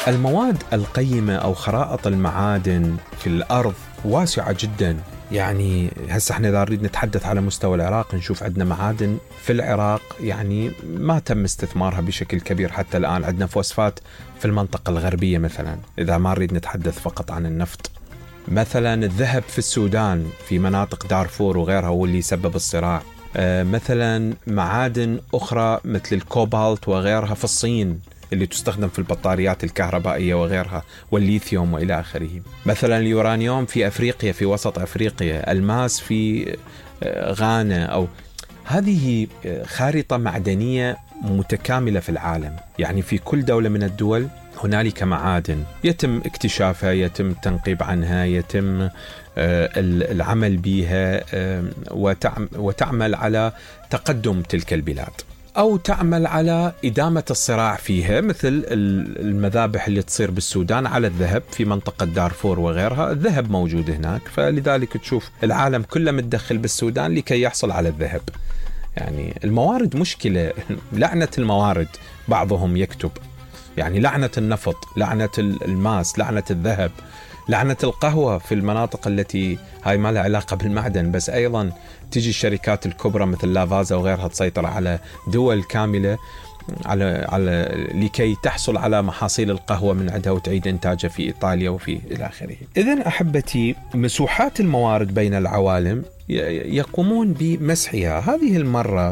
المواد القيمة أو خرائط المعادن في الأرض واسعة جدا. يعني هسه احنا إذا نريد نتحدث على مستوى العراق نشوف عندنا معادن في العراق يعني ما تم استثمارها بشكل كبير حتى الآن. عندنا فوسفات في المنطقة الغربية مثلا، إذا ما نريد نتحدث فقط عن النفط. مثلا الذهب في السودان في مناطق دارفور وغيرها هو اللي يسبب الصراع. مثلا معادن أخرى مثل الكوبالت وغيرها في الصين اللي تستخدم في البطاريات الكهربائية وغيرها، والليثيوم وإلى آخره. مثلا اليورانيوم في أفريقيا، في وسط أفريقيا. الماس في غانا. أو هذه خارطة معدنية متكاملة في العالم. يعني في كل دولة من الدول هنالك معادن يتم اكتشافها، يتم التنقيب عنها، يتم العمل بها، وتعمل على تقدم تلك البلاد أو تعمل على إدامة الصراع فيها، مثل المذابح اللي تصير بالسودان على الذهب في منطقة دارفور وغيرها. الذهب موجود هناك، فلذلك تشوف العالم كله متدخل بالسودان لكي يحصل على الذهب. يعني الموارد مشكلة، لعنة الموارد. بعضهم يكتب يعني لعنة النفط، لعنة الماس، لعنة الذهب، لعنة القهوة في المناطق التي هاي ما لها علاقة بالمعدن، بس أيضا تجي الشركات الكبرى مثل لافازا وغيرها تسيطر على دول كاملة على لكي تحصل على محاصيل القهوة من عندها وتعيد إنتاجها في إيطاليا وفي إلى آخره. إذن أحبتي، مسوحات الموارد بين العوالم يقومون بمسحها. هذه المرة